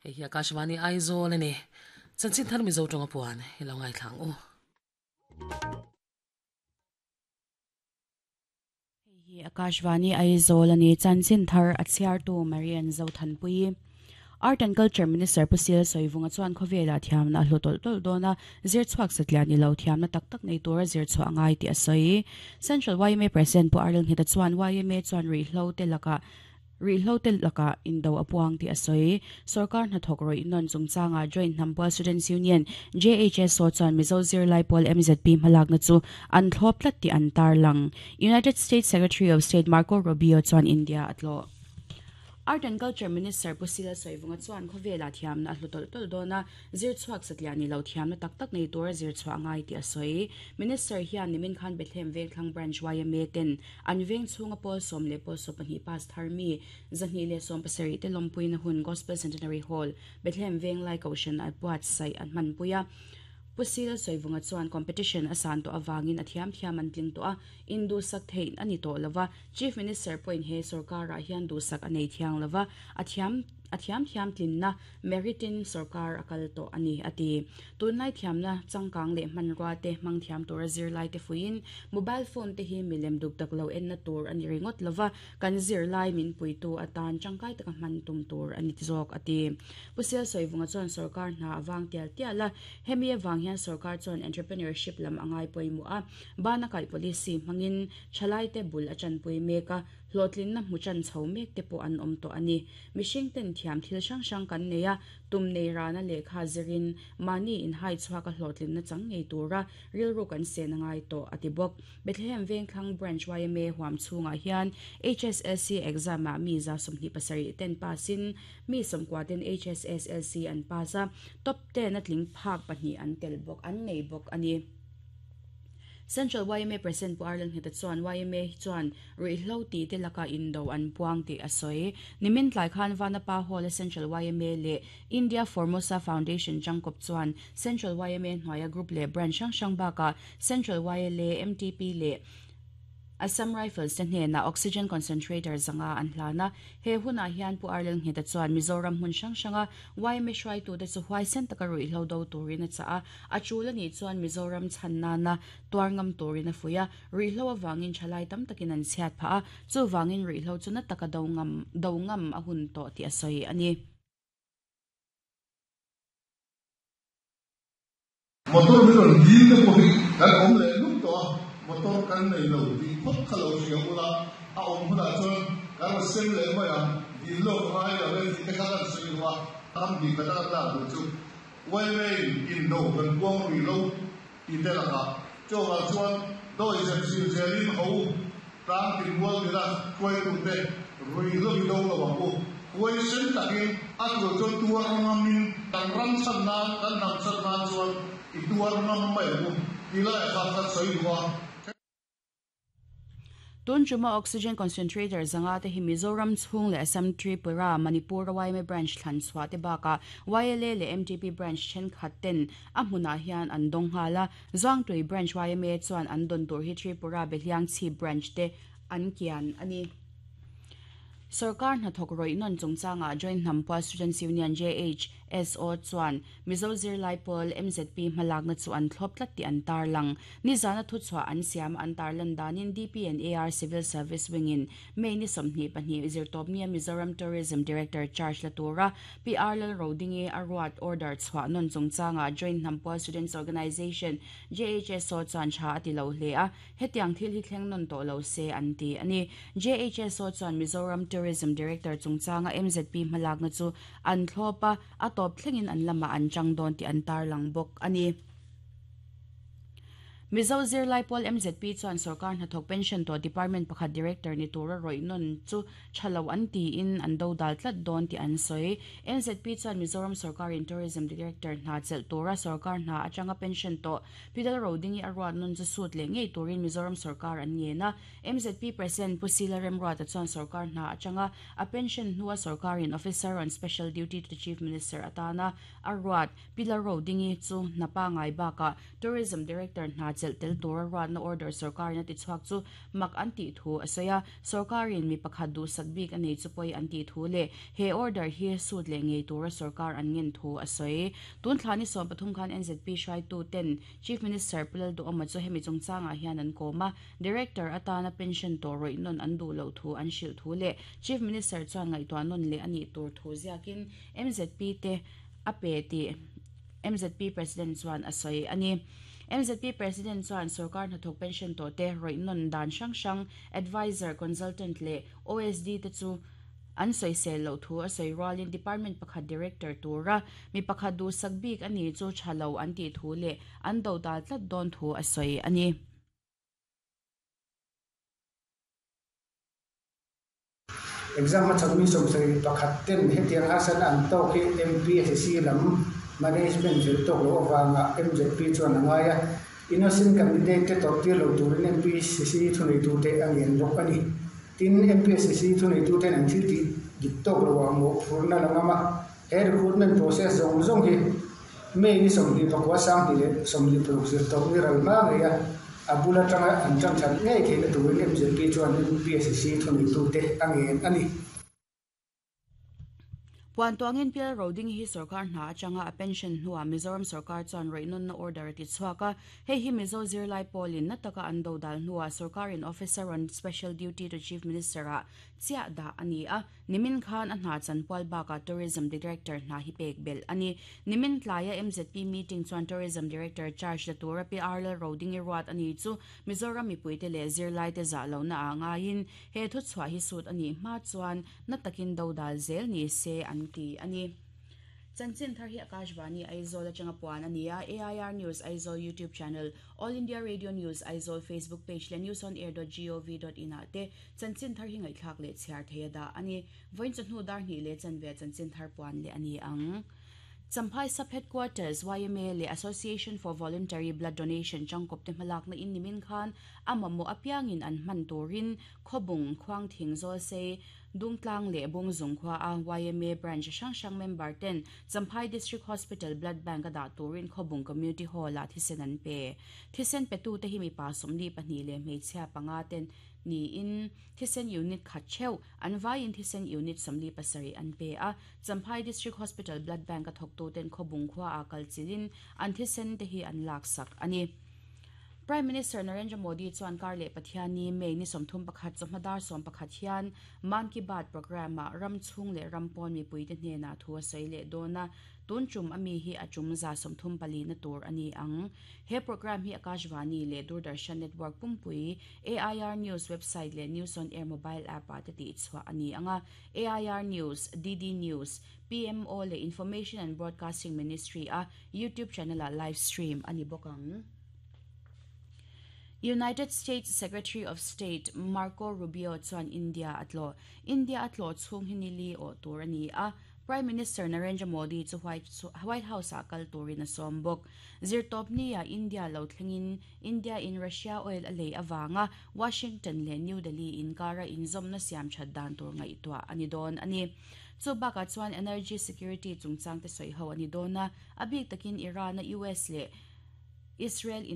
Hei hi Akashvani Aizawl a ni. Chanchin thar Mizo tawnga puan i lo ngaithla ang u. Hei hi Akashvani Aizawl a ni. Chanchin thar a chhiartu Marian Zothanpuii. Art and Culture Minister Pu Sil Sawivunga chuan khawvelah thiamna a hlu tawlh tawlh dawn a, zir chhuak satliah ni lo thiamna tak tak nei tura zir chhuah a ngai tih a sawi. Central yma President Pu Arlil Ngheta chuan yma chuan ruihhlo te lakah Rihlo te lakah indo a puang tih a sawi. Sorkar hnathawk rawih nawn chungchangah Joint Hnampual Students Union, JHSO, chuan Mizo zirlai pawl MZP hmalakna chu an thlawp tlat tih an tarlang. United States Secretary of State Marco Rubio chuan India a tlawh. Art and Culture Minister Pu Sila Sawivunga chuan khawvelah thiamna a hlu tawlh tawlh dawn a, zir chhuak satliah ni lo thiamna tak tak nei tura zir chhuah a ngai tih a sawi. Minister hian nimin khan Bethlehem Vengthlang Branch yma ten An veng chhunga pawl sawm leh pawl 12 pass thar mi 270 te lawmpuina hun Gospel Centenary Hall, Bethlehem Venglai Kohhran a buatsaih an hmanpui a. Pu Sila Sawivunga chuan competition a san tawh avangin a thiam thiam an tling tawh a, induhsak theih a ni tawh lova, Chief Minister pawhin he sorkarah hian duhsak a nei thiang lova, a thiam a thiam thiam tlinna Merit-in sorkar a kal tawh a ni, a ti. Tunlai thiamna changkang leh hmanrua te hmang thiam tura zirlai te fuiin mobile phone te hi milem duk dak lo enna tur a ni ringawt lova, kan zirlai min puitu atan tangkai taka hman tum tur a ni zawk, a ti. Pu Sialsawivunga chuan sorkar hna a vang tial tial a, hemi avang hian sorkar chuan entrepreneurship lam a ngai pawimawh a, bana kaih policy hmangin thalaite bul a tanpui mek a, hlawhtlinna hmu tan chho mek te pawh an awm tawh a ni. Mihring ten thiam thil hrang hrang kan nei a, tum nei rana lehkha zirin mahni inhai chhuak a hlawhtlinna chang ngei tura rilru kan sen a ngai tawh, a ti bawk. Bethlehem Vengthlang Branch yma huam chhungah hian HSLC exam ah mi 27 ten pass in mi 90 ten HSSLC an pass a, top ten a tling phak pahnih an tel bawk an nei bawk a ni. Central yma President Pu Arlen Ngheta chuan yma chuan ruihhlo tih te laka indo an puang tih a sawi. Nimin tlai khan Vanapa Hall-a Central yma leh India Formosa Foundation tangkawp chuan Central yma hnuaia group leh branch hrang hrang bakah Central YLA, MTP leh Assam Rifles te hnenah Oxygen Concentrator zanga an hlan a. He hunah hian Pu Arlel Ngheta chuan Mizoram hmun hrang hranga yma hruaitute chu huaisen taka ruihhlo do turin a chah a, a tul a nih chuan Mizoram chhan nana tuar ngam turin a fuih a, ruihhlo avangin thalai tam takin an chhiat phah a, chuvangin ruihhlo chu na taka do ngam do ngam a hun tawh tih a sawi a ni. Motor hi rawn dil te pawh hi kan awm leh lup tawh a, motor kan nei lo tih phawt kha lo hria ula, a awm hunah chuan kan rawn sem leh mai ang, dil lawk a ngai lo e tih te kha kan sawi lo a, ram hnih khat a kan lak duh chu yma in indo kan puang rih lo tih te lakah chuvang chuan dawi zep zir zelin ho tlang tin mual nila hruaitute ruihhlo i do lo ang u. Huaisen takin a tur chuan tuar ngamin kan ram chhan nan, kan hnam chhan nan chuan i tuar ngam mai ang u tih laiah khan kan sawi duh a. Tun tuma Oxygen Concentrator zanga te hi Mizoram chhung leh Assam, Tripura, Manipur a yma Branch thlan chhuah te bakah YLA leh MTP Branch thenkhat ten a hmunah hian an dawng nghal a. Zuangtui Branch yma chuan an dawn tur hi Tripura Behliang Chhip Branch te an kian a ni. Sorkar hnathawk rawih nawn chungchangah Joint Hnampua Students Union, JHSO, chuan Mizo zirlai pawl MZP hmalakna chu an thlawp tlat tih an tarlang. Nizana thuchhuah an siam an tarlan danin DP and AR Civil Service Wing-in May ni 22 zirtawpnia Mizoram Tourism Director charge la tura PR Lalrodingi a ruat order chhuah nawn chungchangah Joint Hnampua Students Organisation, JHSO, chuan tha a ti lo hle a, hetiang thil hi thleng nawn tawh lo se an ti a ni. JHSO chuan Mizoram Tourism Director chungchanga MZP hmalakna chu an thlawp a, A tawp thlengin an lamah an chang dawn tih an tarlang bawk a ni. Mizo zirlai pawl MZP chuan sorkar hnathawk pension tawh department pakhat director ni tura rawih nawn chu tha lo an tiin an dodal tlat dawn tih an sawi. MZP chuan Mizoram sorkarin tourism director hna chelh tura sorkar hna atanga pension tawh Pidal Rodingi a ruat nawn chu sut leh ngei turin Mizoram sorkar an ngen a. MZP President Pu Sila Remruata chuan sorkar hna atanga A pension hnua sorkarin Officer on Special Duty to the Chief Minister atana a ruat Pilar Rodingi chu hna pangai bakah Tourism Director hna chelh tel tura ruatna order sorkarin a tichhuak chu mak an tih thu a sawi a, sorkarin mi pakhat duhsak bik a nei chu pawi an tih thu leh he order hi sut leh ngei tura sorkar an ngen thu a sawi. Tun thla ni 13 khan NZP hruaitu ten Chief Minister Pu Lalduhawma chu hemi chungchangah hian an kawm a, Director atana pension tawh rawih nawn an duh loh thu an hrilh thu leh Chief Minister chuan ngaihtuah nawn leh a nih tur thu ziakin MZP te a pe tih MZP President chuan a sawi a ni. MZP President chuan sorkar hnathawk pension tawh te rawih nawn dan hrang hrang Adviser, Consultant leh OSD te chu an sawisel loh thu a sawi rualin Department pakhat Director tura mi pakhat duhsak bik a ni chu tha lo an tih thu leh an dodal tlat dawn thu a sawi a ni. Exam a chawlhmi 71 ten hetiang harsatna an tawk hi MPSC lam management fel tawk loh avanga MZP chuan a ngai a, innocent candidate te tawrhtir lo turin MPSC thuneitute a ngen bawk a ni. Tin, MPSC thuneituten an thil tih dik tawk loah mawhphurhna la ngam a, he recruitment process zawng zawng hi May ni 29 2026 zir tawp ni ral hma ngei a, a bul atanga an tan that ngei theihna turin MZP chuan MPSC thuneitute a ngen a ni. Puan tuangin Pial Roding hi sorkar hna atanga a pension hnuah Mizoram sorkar chuan rawihnawnna order a ti chhuak a. Hei hi Mizo zirlai pawlin na taka an dodal hnuah sorkarin Officer on Special Duty to Chief Minister-ah chiah dah a ni a. Nimin khan a hna chanpual bakah Tourism Director hna hi pek belh a ni. Nimin tlaia MZP meeting chuan Tourism Director charge la tura Pi Arlal Rodingi ruat a ni chu Mizoram mipuite leh zirlaite zah lohna ah ngaiin he thuchhuah hi sut a nih hma chuan na takin dodal zel ni se an ti a ni. Chanchin thar hi Akashvani Aizawl atanga puan a ni a, AIR News Aizawl YouTube channel, All India Radio News Aizawl Facebook page leh newsonair.gov.in ah te Chanchin thar hi ngaihthlak leh chhiar thei a dah a ni. Vawiin chawhnu dar hnih leh chanve chanchin thar puan leh a ni ang. Champhai Sub Headquarters, yma leh Association for Voluntary Blood Donation changkawp te hmalakna in nimin khan a mamawh apiangin an hman turin Khawbung, Khuangthing, Zawlsei, Dungtlang leh Bungzung khua a yma branch hrang hrang member ten Champhai District Hospital Blood Bank a dah turin Khawbung Community Hall ah thisen an pe. Thisen petute hi mipa 22 leh hmeichhia panga ten niin thisen unit khat theuh, an vaiin thisen unit 47 an pe a. Champhai District Hospital Blood Bank a thawktuten Khawbung khuaah kal chilhin an thisen te hi an laksak a ni. Prime Minister Narendra Modi chuan kar leh Pathianni May ni 31 chawhma dar 11 hian Mann Ki Baat programme-ah ram chhung leh ram pawn mipuite hnenah thu a sawi leh dawn a, tun tum a mi hi a tum 34 na tur a ni ang. He programme hi Akashvani leh Doordarshan network pumpui AIR News website leh News on Air mobile app-ah te tihchhuah a ni ang a, AIR News, DD News, PMO leh Information and Broadcasting Ministry-a YouTube channel-ah live stream a ni bawk ang. United States Secretary of State Marco Rubio chuan India a tlawh. India a tlawh chhung hi nili awh tur a ni a, Prime Minister Narendra Modi chu White House-ah kal turin a sawm bawk. Zirtawpni-ah India lo thlengin India in Russia oil a lei avanga Washington leh New Delhi inkara inzawmna siam that dan tur ngaihtuah a ni dawn a ni. Chu bakah chuan energy security chungchang te sawi ho a ni dawn a, a bik takin Iran-a US leh Israel in.